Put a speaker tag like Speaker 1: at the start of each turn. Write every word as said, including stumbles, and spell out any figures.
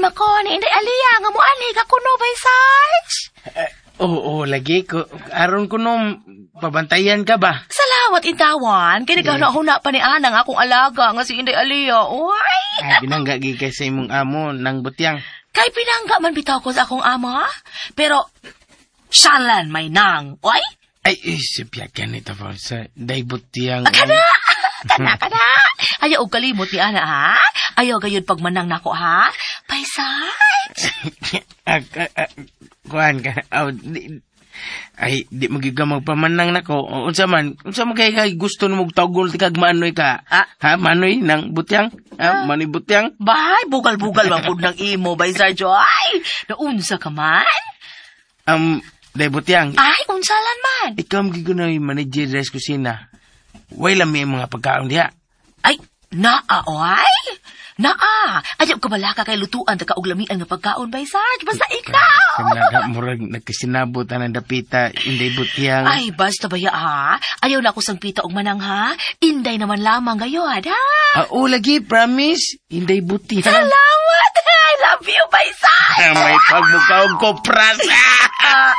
Speaker 1: Ganahan man ko ni Inday Alia nga muanhi ka kuno, Bay Sarge.
Speaker 2: Oo, oh, lagi ko. Aron ko nung pabantayan ka ba?
Speaker 1: Salamat intawan. Kay nagahuna-huna pa ni Ana nga akong alaga nga si Inday Alia. Uy!
Speaker 2: Ay, binangga gi kay sa imong amo nang butyang.
Speaker 1: Kay pinangga man bitaw ko sa akong amo, ha? Pero, siyalan may nang. Uy!
Speaker 2: Ay, eh, sipya ganito pa sa day butyang.
Speaker 1: Ah, Kana! Kana, kana! Ayaw og kalimot ni Ana, ha? Ayaw gayud pagmanang nako, ha? Bay Sarge!
Speaker 2: Ah, ah, ah, kuan ka. Aw, di, ay, di mo gyud ka magpamanang nako. O, Unsa man, unsa man kay kay gusto nimo tawgon ti kag manoy ka?
Speaker 1: Ah.
Speaker 2: Ha, manoy nang butyang? Ha, manoy butyang?
Speaker 1: Bay, bugal-bugal man pud ng imo, Bay Sarge. Ay, naunsa ka man?
Speaker 2: Um, day butyang.
Speaker 1: Ay, unsalan man?
Speaker 2: Ikaw ang gyud na manager sa kusina. Way lami ang mga pagkaon diha.
Speaker 1: Ay, naa, oy! Naa! Ayaw ka balaka kay lutuan ta ka og lamian nga pagkaon, Bay Sarge. Basta ikaw!
Speaker 2: Kanaga murag nagkasinabot ang dapita inday butyang.
Speaker 1: Ay, basta ba ya, ha? Ayaw na ako sang pita og manang, ha? Inday naman lamang gayod, ha?
Speaker 2: Ah, oh, lagi, promise. Inday butyang.
Speaker 1: Salamat! I love you, Bay Sarge!
Speaker 2: May pagmukha og kopras.
Speaker 1: Ah,